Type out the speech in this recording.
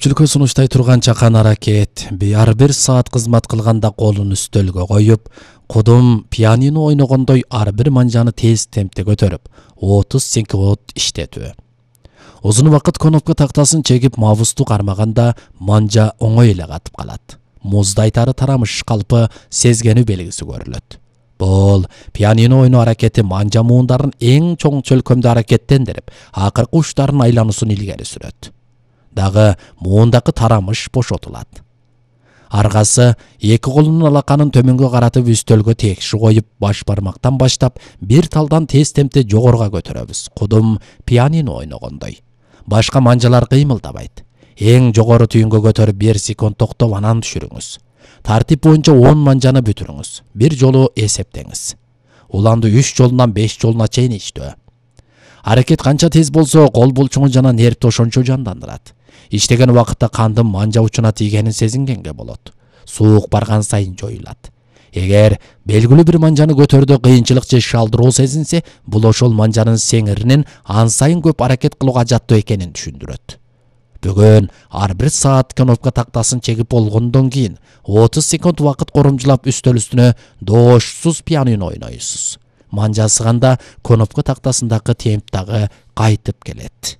Көпчүлүккө сунуштай турган чакан аракет ар бир саат кызмат кылганда колун үстөлгө коюп, кудум пианино ойногондой ар бир манжаны тез темпте көтөрүп, 30 секунд иштетүү. Узун убакыт кнопка тактасын чегип мабусту кармаганда манжа оңой эле катып калат. Муздайтары тарамыш калпы сезгени белгиси көрүлөт. Бул пианино ойноо аракети манжа муундарын эң чоң чөлкөмдө аракеттендирип, акыркы учтарын айлануусун илгери сүрөт. Дагы муундагы тарамыш бошотулат. Аргасы эки колунун алаканын төмөнгө каратып үстөлгө текши коюп, баш бармактан баштап бир талдан тез темпте жогоруга көтөрөбүз. Кудум пианино ойногондой. Башка манжалар кыймылдабайт. Эң жогору түйүнгө көтөрүп 1 секунд токтоп анан түшүрүңүз. Тартип боюнча 10 манжаны бүтүрүңүз. Бир жолу эсептеңиз. Уланды 3 жолунан 5 жолуна чейин иштөө. Аракет канча тез болсо, кол булчуңу жана нервди ошончо жандандырат. Иштеген убакытта кандын манжа учуна тийгенин сезингенге болот. Суук барган сайын жоюлат. Эгер белгилүү бир манжаны көтөрүүдө кыйынчылык же шалдыроо сезинсе, бул ошол манжанын сеңиринин ан сайын көп аракет кылууга жаттуу экенин түшүндүрөт. Бүгүн ар бир саат кнопка тактасын чегип болгондон кийин 30 секунд убакыт коромжулап үстөл үстүнө доошсуз пианино ойнойсуз. Манжа сыганда кнопка тактасындагы темп дагы кайтып келет.